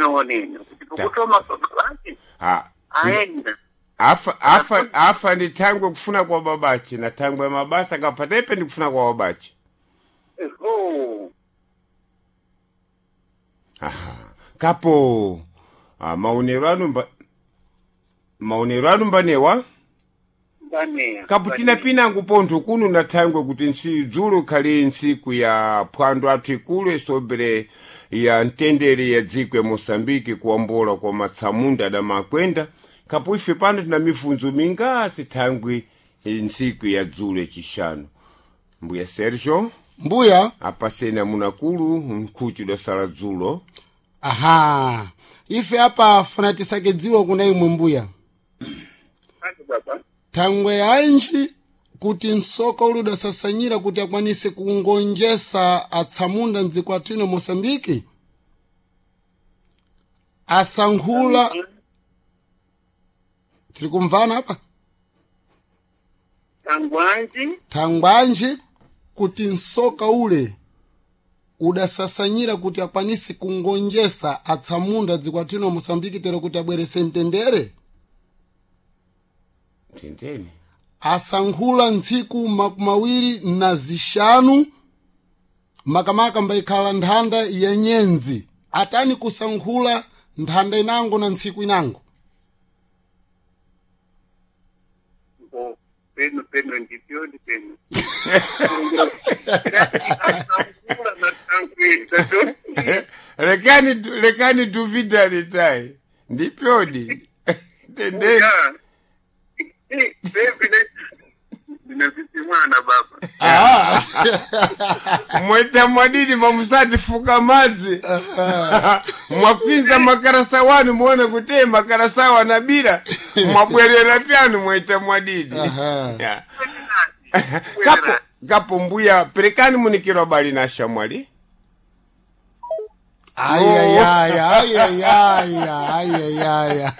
Ndinaonena kuti pokutoma babache Ha. aenda. Afa afa afa ndi thangwe kufuna kwa babache na thangwe mabasa kapatepe ndi kufuna kwa babache. Eho. Aha. Kapo maonero anu mba maonero anu mbanewa Mbaneya. kapo tina pinangu pontho kuno na thangwe kuti nsi dzulo khali ntsiku ya phwando athu ikulu isobere ya mtendere ya dziko ya moçambike kuwambola kwa matsamunda adamakwenda kapo ife pano tina mifunzo mingasi thangwe ntsiku ya dzulo yacixanu. Mbuya Sergio Mbuya. apaseni amunakulu nkhuti udasala dzulo. Aha, ife apa funa tisakedziwa kuna imwe mbuya. Ati baba. Thangwe yanji kuti msoka uli udasasanyira kuti akwanise kungonjesa atsamunda mdziko athu Moçambike asankhula. Tiri kumvana apa? Tangwanji. Thangwanji kuti msoka ule udasasanyira kuti akwanise kungonjesa atsamunda dziko athu Moçambike tero kuti abwerese mtendere. Mtendere. Asankhula ntsiku 25 makamaka mbayikhala nthanda ya nyenzi. Atani kusankhula nthanda inango na ntsiku inango? Bo peno peno ndipyo ndipeno. Asangula na tangwe. Lekani lekani duvida litai ndipyodi tendeni. Ya. Baby ne. Ndinafisi mwana baba. Mweta mwadidi mamusati fuka madzi mwakwinza makarasa wanu muone kuti makarasa wanabira mwabwerera pyanu mweta mwadidi. Aha. Ya. Kapo kapo mbuya perekani munikiro bali na shamwali. Ayayaya, ayayaya, ayayaya.